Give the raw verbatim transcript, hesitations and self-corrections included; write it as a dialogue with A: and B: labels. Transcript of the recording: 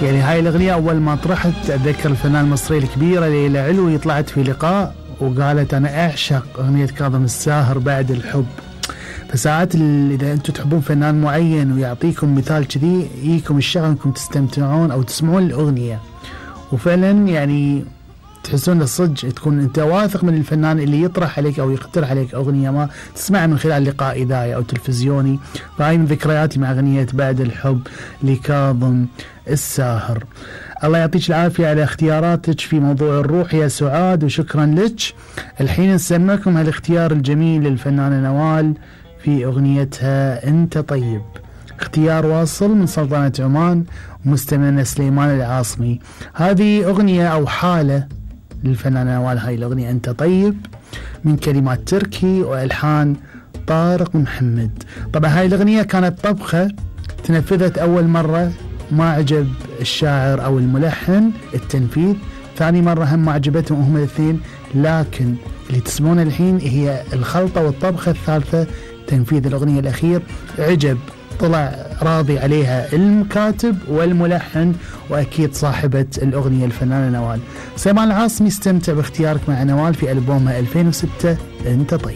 A: يعني هاي الأغنية أول ما طرحت أتذكر الفنان المصرية الكبيرة ليلى علوي طلعت في لقاء وقالت أنا أعشق أغنية كاظم الساهر بعد الحب. فساعات إذا أنتم تحبون فنان معين ويعطيكم مثال كذي يجيكم الشغف أنكم تستمتعون أو تسمعون الأغنية، وفعلا يعني تحسون الصدق تكون أنت واثق من الفنان اللي يطرح عليك أو يقترح عليك أغنية ما تسمعها من خلال لقاء إذاعي أو تلفزيوني. فهاي من ذكرياتي مع أغنية بعد الحب لكاظم الساهر. الله يعطيك العافية على اختياراتك في موضوع الروح يا سعاد، وشكرا لك. الحين نسمعكم هالاختيار الجميل للفنانة نوال في أغنيتها أنت طيب، اختيار واصل من سلطنة عمان ومستمعنا سليمان العاصمي. هذه أغنية أو حالة للفنانة نوال، هاي الأغنية أنت طيب من كلمات تركي وألحان طارق محمد. طبعا هاي الأغنية كانت طبخة تنفذت أول مرة ما عجب الشاعر أو الملحن التنفيذ، ثاني مرة هم ما عجبتهم هم الاثنين، لكن اللي تسمعونه الحين هي الخلطة والطبخة الثالثة تنفيذ الأغنية الأخير. عجب طلع راضي عليها المكاتب والملحن وأكيد صاحبة الأغنية الفنانة نوال. سليمان العاصمي استمتع باختيارك مع نوال في ألبومها ألفين وستة أنت طيب.